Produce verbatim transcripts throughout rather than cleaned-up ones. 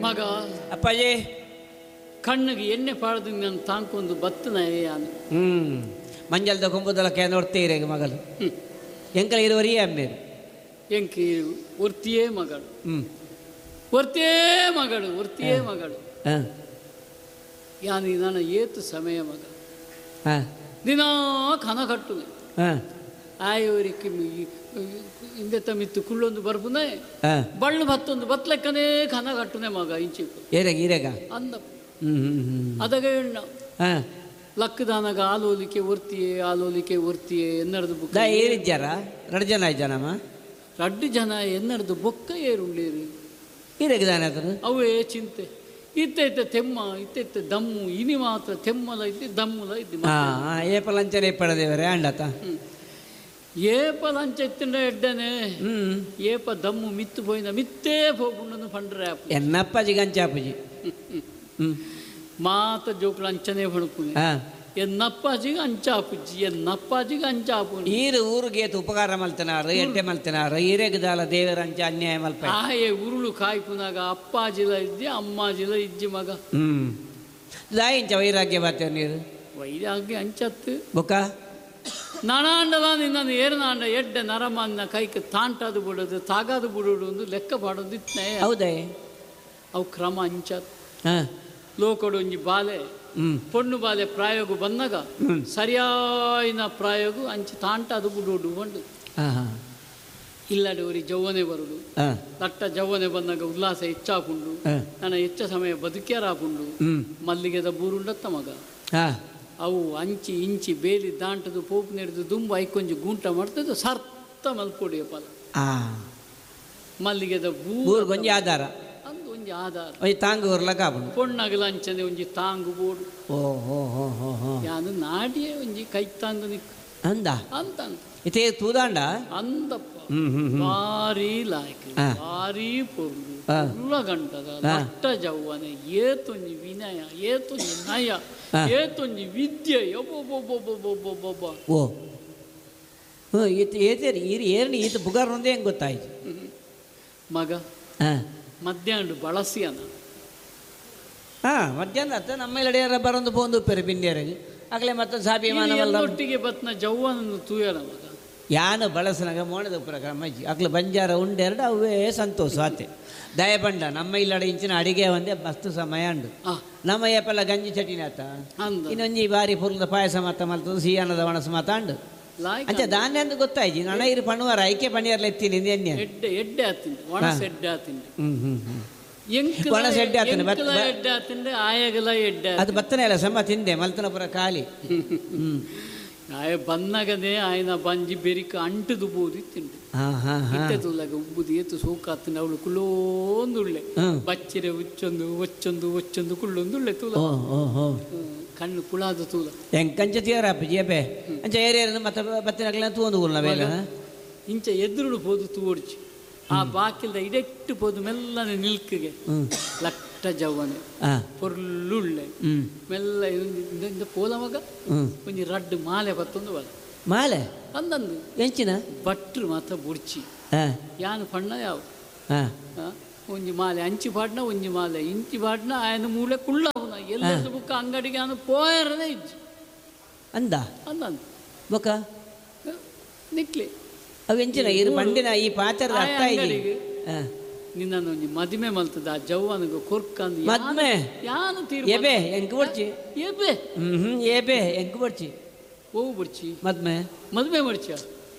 ಮಗ ಅಪ್ಪಾಜಿ ಕಣ್ಣಿಗೆ ಎಣ್ಣೆ ಪಾಡ್ದು ನಾನು ತಾಂಕೊಂದು ಬತ್ತನ ಯಾನು ಹ್ಮ್ ಮಂಜಲ್ದ ಕೊಂಬುದಲ ನೋಡ್ತೀರ ಮಗಲು ಎಂಕಲ ಇರುವರಿಯೇ ಅಮ್ಮೇರು ಎಂಕಿ ಒರ್ತಿಯೇ ಮಗಳು ಹ್ಮ್ ಒರ್ತಿಯೇ ಮಗಳು ಒರ್ತಿಯೇ ಮಗಳು ಯಾನು ನಾನು ಏತು ಸಮಯ ಮಗ ದಿನಾ ಕನ ಕಟ್ಟುನೆ ಆಯವರಿಗೆ ಹಿಂದೆ ತಮ್ಮಿತ್ತು ಕುಳ್ಳೊಂದು ಬರ್ಪುನೆ ಬಳ್ಳು ಬತ್ತೊಂದು ಬತ್ಲೆಕ್ಕನೇ ಕನ ಕಟ್ಟುನೆ ಮಗ ಇಂಚಿ ಏರೆಗ ಈರೆಗ ಅಂದ ಅದಗ ಎಣ್ಣ ಲಕ್ಕದಾನಗ ಆಲೋಲಿಕೆ ಒರ್ತಿಯೇ ಆಲೋಲಿಕೆ ಒರ್ತಿಯೇ ಎನ್ನರದು ಬುಕ್ಕ ಏರಿಜ್ಜಾರ ಎರಡು ಜನ ಇದ್ದಾನಮ್ಮ ರಡ್ಡು ಜನ ಎನ್ನರದು ಬೊಕ್ಕ ಏರುಳ್ಳೇರು ಈರೆಗ ದಾನ ಅವೇ ಚಿಂತೆ ಇತ್ತ ಇತ್ತ ತೆಮ್ಮ ಇತ್ತ ಇತ್ತ ದಮ್ಮು ಇನಿ ಮಾತ್ರ ತೆಮ್ಮಲ ಇದ್ದಿ ದಮ್ಮುಲ ಇದ್ದಿ ಏಪ ಲಂಚನೆ ಇಪ್ಪಡದೇವರೇ ಅಂಡತ ಏಪ ಲಂಚ ಇತ್ತಿಂಡ ಎಡ್ಡನೆ ಏಪ ದಮ್ಮು ಮಿತ್ತು ಪೋಯಿನ ಮಿತ್ತೇ ಪೋಪುಂಡನು ಪಂಡ್ರೆ ಆಪು ಎನ್ನಪ್ಪಾಜಿ ಗಂಚಾಪುಜಿ ಮಾತ ಜೋಕುಲು ಅಂಚನೆ ಪಣಪುನೆ ಎನ್ನಪ್ಪಾಜಿಗೆ ಅಂಚಾಪುಜ್ಜಿ ಎನ್ನಪ್ಪಾಜಿಗೆ ಅಂಚಾಪು ಈರು ಊರಿಗೆ ಉಪಕಾರ ಮಲ್ತನಾರು ಎಡ್ಡೆ ಮಲ್ತನಾರು ಈರೆಗದಾಲ ದೇವರ ಅಂಚ ಅನ್ಯಾಯ ಮಲ್ಪ ಆಯೆ ಉರುಳು ಕಾಯ್ಪುನಾಗ ಅಪ್ಪಾಜಿಲ ಇದ್ದಿ ಅಮ್ಮಾಜಿಲ ಇಜ್ಜಿ ಮಗ ಹ್ಮ್ ದಾಯಿಂಚ ವೈರಾಗ್ಯ ಬಾತೇವ ನೀರು ವೈರಾಗ್ಯ ಅಂಚತ್ತು ಬೊಕ್ಕ ನಾನಾಂಡಲ ನಿನ್ನನ್ನು ಏರ್ನಾಂಡ ಎಡ್ಡೆ ನರಮನ್ನ ಕೈಗೆ ತಾಂಟಾದು ಬಿಡೋದು ತಾಗಾದು ಬಿಡೋದು ಒಂದು ಲೆಕ್ಕ ಪಾಡೋದು ಇತ್ತನೇ ಹೌದೇ ಅವು ಕ್ರಮ ಅಂಚತ್ ಲೋಕಡು ಒಂಜಿ ಬಾಲೆ ಪೊಣ್ಣು ಬಾಲೆ ಪ್ರಾಯೋಗ ಬಂದಾಗ ಸರಿಯಾಯಿನ ಪ್ರಾಯೋಗ ಅಂಚಿ ತಾಂಟಾದು ಬಿಡೋಡು ಬಂಡು ಇಲ್ಲಡೆ ಒರಿ ಜವ್ವನೆ ಬರುಡು ಲಟ್ಟ ಜವ್ವನೆ ಬಂದಾಗ ಉಲ್ಲಾಸ ಹೆಚ್ಚಾಪುಂಡು ನನ್ನ ಹೆಚ್ಚ ಸಮಯ ಬದುಕ್ಯಾರಾಪುಂಡು ಮಲ್ಲಿಗೆದ ಬೂರುಂಡತ್ತ ಮಗ ಅವು ಅಂಚಿ ಇಂಚಿ ಬೇಲಿ ದಾಂಟದು ಪೋಪು ನೆಡ್ದು ದುಂಬು ಐಕೊಂಜಿ ಗೂಂಟ ಮಾಡ್ತದೆ ಸರ್ತ ಮಲ್ಪೊಡಿಯ ಫಲ ಮಲ್ಲಿಗೆದ ಬೂರು ಒಂಜಿ ಆಧಾರ ಅಂದು ಒಂಜಿ ಆಧಾರ ಒಂಜಿ ತಾಂಗು ಊರ್ಲಕ ಆಪುಂಡು ಪೊಣ್ಣಗಲ ಅಂಚನೆ ಒಂಜಿ ತಾಂಗು ಬೋಡು ಓ ಹೋ ಹೋ ಹೋ ಹೋ ಯಾನು ನಾಡಿಯೇ ಒಂಜಿ ಕೈ ತಾಂದು ನಿಕ್ ಅಂದ ಅಂತ ಅಂತ ಇತೇ ತೂದಾಂಡ ಅಂದಪ್ಪ ಭಾರಿ ಲಾಯ್ಕ ಭಾರಿ ಪೊರ್ಲು ಉಳ್ಳ ಗಂಟದ ಲಟ್ಟ ಜವ್ವನೆ ಏತೊಂಜಿ ವಿನಯ ಏತೊಂಜಿ ನಯ ಏತೊಂಜಿ ವಿದ್ಯೆ ಒಬ್ಬೊಬ್ಬೊಬ್ಬೊಬ್ಬೊಬ್ಬೊಬ್ಬ ಓ ಹ್ಞೂ ಈತ ಏತೇರಿ ಈರು ಏರ್ನಿ ಈತ ಬುಗಾರ್ ಒಂದೇ ಹೆಂಗೆ ಗೊತ್ತಾಯ್ತು ಮಗ ಹಾಂ ಮಧ್ಯಾಹ್ನ ಬಳಸಿಯನ ಹಾಂ ಮಧ್ಯಾಹ್ನ ಅತ್ತ ನಮ್ಮ ಇಲ್ಲಡೆ ಬರೊಂದು ಪೋಂದು ಉಪ್ಪೇರು ಬಿಂದಿಯರಿಗೆ ಆಗಲೇ ಮತ್ತೆ ಸ್ವಾಭಿಮಾನವಲ್ಲ ಒಟ್ಟಿಗೆ ಬತ್ನ ಜವ್ವನನ್ನು ತೂಯನ ಮಗ ಯಾನು ಬಳಸನಾಗ ಮೋಣದ ಉಪ್ಪರ ಅಜ್ಜಿ ಅಕ್ಲು ಬಂಜಾರ ಉಂಡೆರಡು ಅವೇ ಸಂತೋಷ ಆತೆ ದಯಪಂಡ ನಮ್ಮ ಇಲ್ಲಡೆ ಇಂಚಿನ ಅಡಿಗೆ ಒಂದೇ ಮಸ್ತ್ ಸಮಯ ಉಂಡು ನಮ್ಮ ಏಪೆಲ್ಲ ಗಂಜಿ ಚಟಿನ ಆತ ಇನ್ನೊಂಜಿ ಬಾರಿ ಪುರ್ಲದ ಪಾಯಸ ಮಾತ ಮಲ್ತದ ಸಿಹಿಯಾನದ ಒಣಸು ಮಾತಾಂಡು ಅಂಚೆ ಧಾನ್ಯ ಅಂದು ಗೊತ್ತಾಯ್ತು ನಣ ಇರು ಪಣುವಾರ ಐಕೆ ಪಣಿಯರ್ಲ ಎತ್ತೀನಿ ಎಣ್ಣೆ ಎಡ್ಡೆ ಎಡ್ಡೆ ಆತಿಂಡೆ ಒಣಸು ಎಡ್ಡೆ ಆತಿಂಡೆ ಹ್ಞೂ ಹ್ಞೂ ಹ್ಞೂ ಒಣಸು ಎಡ್ಡೆ ಆತಿಂಡೆ ಎಡ್ಡೆ ಆತಿಂಡೆ ಆಯಗಲ ಎಡ್ಡೆ ಅದು ಬತ್ತನೇ ಅಲ್ಲ ಸಮ ತಿಂದೆ ಮಲ್ತನಪುರ ಖಾಲಿ ಹ್ಞೂ ಆಯ ಬಂದಾಗನೇ ಆಯನ ಬಂಜಿ ಬೆರಿಕ ಅಂಟದು ಬೋದು ತಿಂಡು ಇತ್ತೆ ತುಲಾಗ ಉಬ್ಬುದು ಏತು ಸೋಕಾತಿನ ಅವಳು ಕುಳ್ಳೊಂದುಳ್ಳೆ ಬಚ್ಚಿರೆ ಉಚ್ಚೊಂದು ಒಚ್ಚೊಂದು ಒಚ್ಚೊಂದು ಕುಳ್ಳೊಂದುಳ್ಳೆ ತೂಲ ಕಣ್ಣು ಕುಳಾದ ತೂಲ ಎಂಕಂಚ ತೀರ ಅಪ್ಪಾಜಿ ಅಬ್ಬೆ ಅಂಚ ಏರಿಯರ್ ಮತ್ತೆ ಬತ್ತಿನಗ್ಲ ತೂಂದು ಕುಲ್ಲ ಬೇಲೆ ಇಂಚ ಎದುರುಡು ಪೋದು ತೂವಡ್ಚಿ ಆ ಬಾಕಿಲ್ದ ಇಡೆಟ್ಟು ಪೋದು ಮೆಲ್ಲನೆ ನಿಲ್ಕಿಗೆ ಲಟ್ಟ ಜವ್ವನೆ ಪೊರ್ಲುಳ್ಳೆ ಮೆಲ್ಲ ಇಂದ ಪೋಲ ಮಗ ಒಂಜಿ ರಡ್ಡು ಮಾಲೆ ಬತ್ತೊಂದು ಬಲ ಮಾಲೆ ಅಂದಂದು ಎಂಚಿನ ಭಟ್ರು ಮಾತ್ರ ಬುಡ್ಚಿ ಯಾನು ಪಣ್ಣ ಯಾವ ಒಂಜಿ ಮಾಲೆ ಅಂಚಿ ಪಾಡ್ನ ಒಂಜಿ ಮಾಲೆ ಇಂಚಿ ಪಾಡ್ನ ಆಯನ ಮೂಲೆ ಕುಳ್ಳವನ ಎಲ್ಲದ ಬುಕ್ಕ ಅಂಗಡಿಗೆ ಅವನು ಪೋಯರನೇ ಇಜ್ಜಿ ಅಂದ ಅಂದಂದು ಬೊಕ್ಕ ನಿಕ್ಲಿ ಅವು ಎಂಚಿನ ಇರು ಬಂಡಿನ ಈ ಪಾತ್ರದ ಅರ್ಥ ಅಂಗಡಿಗೆ ನಿನ್ನನ್ನು ಒಂಜಿ ಮದುವೆ ಮಲ್ತದ ಆ ಜವ್ವನಿಗೆ ಕೊರ್ಕಂದು ಮದ್ಮೆ ಯಾನು ತೀರ್ ಎಬೆ ಎಂಕ್ ಬಡ್ಚಿ ಎಬೆ ಹ್ಮ್ ಎಬೆ ಎಂಕ್ ಬಡ್ಚಿ ಓ ಬಡ್ಚಿ ಮದ್ಮೆ ಮದುವೆ ಮಡ್ಚ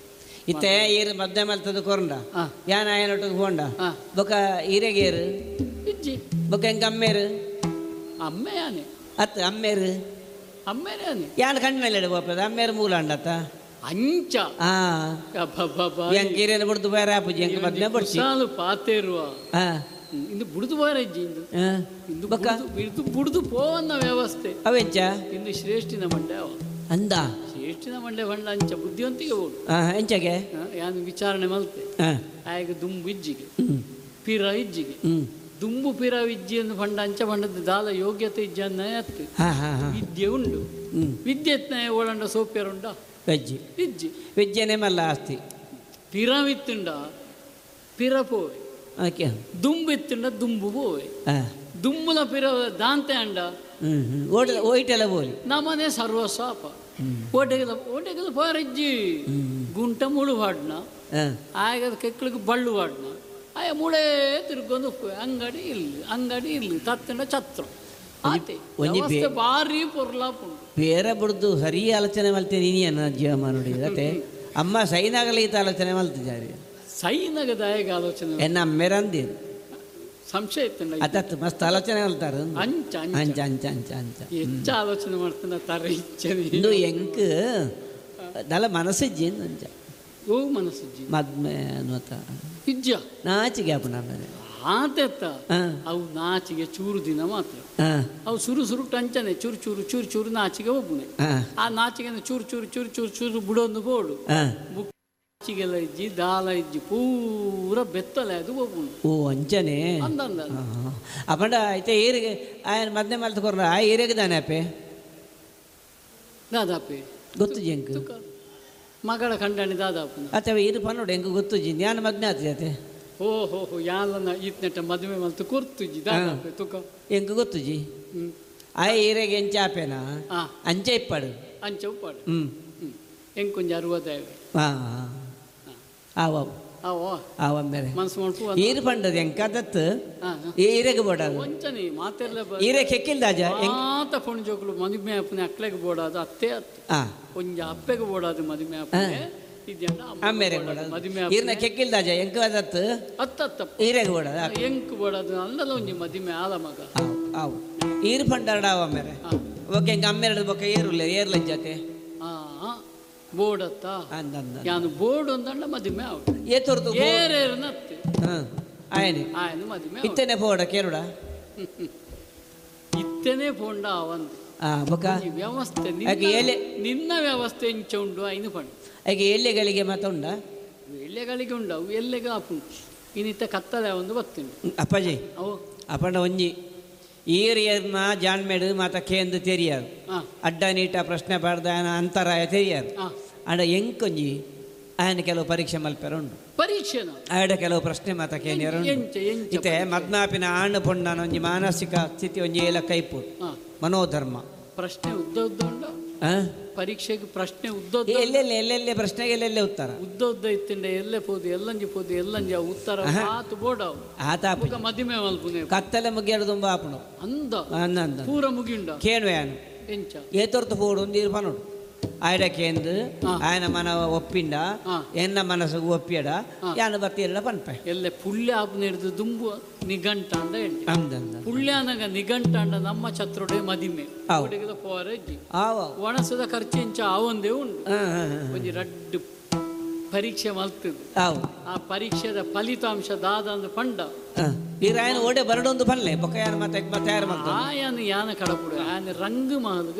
ಇತ್ತೆ ಈರು ಮದ್ದೆ ಮಲ್ತದ ಕೊರಂಡ ಯಾನ ಆಯನೊಟ್ಟಿಗೆ ಹೋಂಡ ಬೊಕ ಈರೆಗೇರು ಇಜ್ಜಿ ಬೊಕ ಎಂಕ ಅಮ್ಮೇರು ಅಮ್ಮೆ ಯಾನೆ ಅತ್ ಅಮ್ಮೇರು ಅಮ್ಮೇರೆ ಯಾನೆ ಯಾನ ಕಣ್ಣಲ್ಲಿ ಬೋಪದ ಅಮ್ಮೇರು ಮೂಲ ಅಂಡತ್ತ ಅಂಚ ಆ ಎಂಕ್ ಈರೇನು ಬುಡ್ದು ಬೇರೆ ಆಪುಜಿ ಎಂಕ್ ಮದ್ಮೆ ಬಡ್ಚಿ ಸಾಲು ಪಾತೇರುವ ಆ ಇಂದು ಬುಡ್ದು ಬಾರ ಇಜ್ಜಿ ಇಂದು ಇಂದು ಬೊಕ ಇಂದು ಬುಡ್ದು ಪೋವನ್ನ ವ್ಯವಸ್ಥೆ ಅವೆಂಚ ಇಂದು ಶ್ರೇಷ್ಠಿನ ಮಂಡೆ ಅವ ಅಂದ ಶ್ರೇಷ್ಠಿನ ಮಂಡೆ ಬಂಡ ಅಂಚ ಬುದ್ಧಿವಂತಿಗೆ ಬೋಡು ಎಂಚಗೆ ಯಾನು ವಿಚಾರಣೆ ಮಲ್ತೆ ಆಯಗ ದುಂಬು ಇಜ್ಜಿಗೆ ಪಿರ ಇಜ್ಜಿಗೆ ದುಂಬು ಪಿರ ವಿದ್ಯೆಯನ್ನು ಪಂಡ ಅಂಚ ಪಂಡದ ದಾಲ ಯೋಗ್ಯತೆ ಇಜ್ಜಿ ಅನ್ನ ಅತ್ತು ವಿದ್ಯೆ ಉಂಡು ವಿದ್ಯೆ ಒಳಂಡ ಸೋಪ್ಯರುಂಡ ವೆಜ್ಜಿ ಇಜ್ಜಿ ವಿದ್ಯೆನೆ ಮಲ್ಲ ಆಸ್ತಿ ಪಿರವಿತ್ತುಂಡ ಪಿರ ಪೋವೆ ದುಂಬು ಇತ್ತುಂಡ ದುಂಬು ಪೋವೆ ದುಮ್ಮುಲ ಪಿರ ದಾಂತೆ ಅಂಡ ಓಟ ಓಯ್ಟೆಲ್ಲ ಬೋಲಿ ನಮ್ಮನೆ ಸರ್ವಸ್ವ ಓಟೆಗೆಲ್ಲ ಓಟೆಗೆಲ್ಲ ಪೋರಜ್ಜಿ ಗುಂಟ ಮುಳು ವಾಡ್ನ ಆಗ ಕೆಕ್ಳಿಗೆ ಬಳ್ಳು ವಾಡ್ನ ಆಯ ಮುಳೇ ತಿರ್ಗೊಂದು ಅಂಗಡಿ ಇಲ್ಲಿ ಅಂಗಡಿ ಇಲ್ಲಿ ತತ್ತಿನ ಛತ್ರ ಒಂಜಿ ಭಾರಿ ಪೊರ್ಲಾಪುಂಡು ಬೇರೆ ಬುಡ್ದು ಸರಿ ಆಲೋಚನೆ ಮಲ್ತೇನೆ ನೀನು ಜೀವಮಾನ ನೋಡಿ ಅತ್ತೆ ಅಮ್ಮ ಸೈನಾಗಲಿ ಈತ ಆಲೋಚನೆ ಮಲ್ತಿದ್ದಾರೆ ಸೈನಾಗ ದಾಯಗ ಆಲೋಚನೆ ಎನ್ನ ಅಮ್ಮೆರಂದಿ ಸಂಶಯ ಇತ್ತು ಅತತ್ತು ಮಸ್ತ್ ಆಲೋಚನೆ ಮಲ್ತಾರ ಅಂಚ ಅಂಚ ಅಂಚ ಅಂಚ ಅಂಚ ಹೆಚ್ಚು ಆಲೋಚನೆ ಮಾಡ್ತಾನೆ ತರ ಇಚ್ಛೆ ಇಂದು ಎಂಕ್ ದಲ ಮನಸ್ಸಿಜ್ಜಿ ಅಂಚ ಓ ಮನಸ್ಸಿಜ್ಜಿ ಮದ್ಮೆ ಅನ್ನುತ್ತ ಇಜ್ಜ ನಾಚಿಗೆ ಅಪ್ಪನ ಆಮೇಲೆ ಆತೆತ್ತ ಅವು ನಾಚಿಗೆ ಚೂರು ದಿನ ಮಾತ್ರ ಅವು ಸುರು ಸುರು ಟಂಚನೆ ಚೂರು ಚೂರು ಚೂರು ಚೂರು ನಾಚಿಗೆ ಒಬ್ಬನೇ ಆ ನಾಚಿಗೆ ಚೂರು ಚೂರು ಚೂರು ಚೂರು ಚೂರು ಬುಡೊಂದು ಬೋಡು ಬುಕ್ ನಾಚಿಗೆಲ್ಲ ಇಜ್ಜಿ ದಾಲ ಇಜ್ಜಿ ಪೂರ ಬೆತ್ತಲೆ ಅದು ಒಬ್ಬನು ಓ ಅಂಚನೆ ಅಂದಂದ ಅಪ್ಪಂಡ ಐತೆ ಏರಿಗೆ ಆಯನ ಮದ್ನೆ ಮಲ್ತು ಆ ಏರಿಯಾಗ ದಾನೆ ಅಪ್ಪೆ ದಾದಾಪೆ ಗೊತ್ತು ಜಂಕ್ ಮಗಳ ಕಂಡಣಿ ದಾದಾಪನ ಅಥವಾ ಏರು ಪನ್ನೋಡು ಎಂಕ್ ಗೊತ್ತು ಜಿ ಜ್ಞಾನ ಮದ್ನೆ ಆತ ಓ ಹೋ ಹೋ ಯಾಲನ ಈತ್ನೆಟ್ಟ ಮದುವೆ ಮಲ್ತು ಕೊರ್ತುಜಿ ದಾದಾಪೆ ತುಕ ಎಂಕ್ ಗೊತ್ತುಜಿ ಆ ಏರಿಯಾಗೆ ಎಂಚ ಆಪೇನಾ ಅಂಚೆ ಇಪ್ಪಾಡು ಅಂಚೆ ಉಪ್ಪಾಡು ಹ್ಞೂ ಎಂಕೊಂಜ ಅರುವದಾಯ ಹಾಂ ಆವ ಆವ ಆವ ಮೇರೆ ಮನಸ್ಸು ಮಾಡ್ಪು ಏರು ಪಂಡದು ಎಂಕದತ್ತು ಏರೆಗೆ ಬೋಡದು ಒಂಚನಿ ಮಾತೆಲ್ಲ ಏರೆ ಕೆಕ್ಕಿಲ್ದಾಜ ಮಾತ ಪೊಣ್ಣು ಜೋಕುಲು ಮದುವೆ ಅಪ್ಪನೆ ಅಕ್ಲೆಗೆ ಬೋಡಾದು ಅತ್ತೆ ಅತ್ತು ಒಂಜ ಅಪ್ಪೆಗೆ ಬೋಡಾದು ಮದುವೆ ಅಪ್ಪನೆ ಅಮ್ಮೇರೆ ಬೋಡದು ಮದುವೆ ಈರ್ನ ಕೆಕ್ಕಿಲ್ದಾಜ ಎಂಕ ಅದತ್ತು ಅತ್ತತ್ತ ಈರೆಗೆ ಬೋಡದು ಎಂಕ್ ಬೋಡಾದು ಅಂದಲ ಒಂಜಿ ಮದುವೆ ಆಲ ಮಗ ಆವು ಈರು ಪಂಡಾರಡ ಆವ ಮೇರೆ ಓಕೆ ಎಂಕ ಅಮ್ಮೇರಡು ಬೊಕ್ಕ ಏರುಲ್ಲ ಏರ್ಲಜ್ಜಾತೆ ಹಾಂ ಬೋರ್ಡ್ ಯಾನು ಬೋರ್ಡ್ ಒಂದಂಡ ಮದುವೆ ಆವಡು ಏತೊರ್ದು ಏರೇರ್ನತ್ತೆ ಆಯನೆ ಆಯನ ಮದುವೆ ಇತ್ತನೆ ಪೋಡ ಕೇರುಡ ಇತ್ತನೆ ಪೋಂಡ ಅವಂದು ಆ ಬೊಕ ವ್ಯವಸ್ಥೆ ನಿನ್ನ ವ್ಯವಸ್ಥೆ ಇಂಚ ಉಂಡು ಐನು ಪಂಡು ಆಕೆ ಎಳ್ಳೆಗಳಿಗೆ ಮಾತ ಉಂಡ ಎಳ್ಳೆಗಳಿಗೆ ಉಂಡು ಅವು ಎಲ್ಲೆಗೆ ಆಪುಂಡು ಇನ್ನಿತ್ತ ಕತ್ತಲೆ ಒಂದು ಬತ್ತುಂಡು ಅಪ್ಪಾಜಿ ಅವು ಅಪ್ಪಂಡ ಒಂಜಿ ಏರ್ ಏರ್ನ ಜಾಣ್ಮೇಡು ಮಾತ ಕೇಂದು ತೆರಿಯಾರು ಅಡ್ಡ ನೀಟ ಪ್ರಶ್ನೆ ಪಾಡ್ದ ಅಂತರಾಯ ತೆರಿಯಾರು ಅಂಡ ಎಂಕೊಂಜಿ ಆಯನ ಕೆಲವು ಪರೀಕ್ಷೆ ಮಲ್ಪೆರ ಉಂಡು ಪರೀಕ್ಷೆ ಆಯಡ ಕೆಲವು ಪ್ರಶ್ನೆ ಮಾತ ಕೇನಿಯರು ಇತ್ತೆ ಮದ್ನಾಪಿನ ಆಣು ಪೊಣ್ಣನ ಒಂಜಿ ಮಾನಸಿಕ ಸ್ಥಿತಿ ಒಂಜಿ ಏಲ ಕೈಪು ಮನೋಧರ್ಮ ಪ್ರಶ್ನೆ ಉದ್ದ ಉದ್ದ ಉಂಡು ಪರೀಕ್ಷೆಗೆ ಪ್ರಶ್ನೆ ಉದ್ದ ಎಲ್ಲೆಲ್ಲಿ ಎಲ್ಲೆಲ್ಲಿ ಪ್ರಶ್ನೆಗೆ ಎಲ್ಲೆಲ್ಲೆ ಉತ್ತರ ಉದ್ದ ಉದ್ದ ಇತ್ತಿಂಡ ಎಲ್ಲೆ ಪೋದು ಎಲ್ಲಂಜಿ ಪೋದು ಎಲ್ಲಂಜಿ ಉತ್ತರ ಆತು ಬೋಡ ಆತ ಮದಿಮೆ ಮಲ್ಪುನೆ ಕತ್ತಲೆ ಮುಗಿಯಡು ತುಂಬ ಆಪುಣು ಅಂದ ಅಂದ ಪೂರ ಮುಗಿಂಡ ಕೇಳುವೆ ಯಾನು ಎಂಚ ಏತೊರ್ತು ಪೋಡು ಒಂದು ಇರ್ಪನುಡು ಆಯಡ ಕೇಂದು ಆಯನ ಮನ ಒಪ್ಪಿಂಡ ಎನ್ನ ಮನಸ್ಸಿಗೆ ಒಪ್ಪಿಯಡ ಯಾನು ಬರ್ತೀರಲ್ಲ ಪನ್ಪೆ ಎಲ್ಲೆ ಪುಳ್ಯ ಆಪುನ ಹಿಡಿದು ದುಂಬು ನಿಘಂಟಾಂಡ ಹೇಳಿ ಅಂದ ಪುಳ್ಯಾನಗ ನಿಘಂಟಾಂಡ ನಮ್ಮ ಛತ್ರೋಡೆ ಮದಿಮೆ ಪೋರಜ್ಜಿ ಒಣಸದ ಖರ್ಚು ಎಂಚ ಆವಂದೇ ಉಂಡು ಒಂಜಿ ರಡ್ಡು ಪರೀಕ್ಷೆ ಮಲ್ತದು ಆ ಪರೀಕ್ಷೆದ ಫಲಿತಾಂಶ ದಾದ ಅಂದು ಪಂಡ ಈ ರಾಯನ ಓಡೆ ಬರಡೊಂದು ಪನ್ಲೆ ಬೊಕ್ಕ ಯಾನ ಮತ್ತೆ ತಯಾರು ಮಾಡ್ತಾರೆ ಆಯನ ಯಾನ ಕಡಪುಡು ಆಯನ ರಂಗು ಮಹಲ್ಗೆ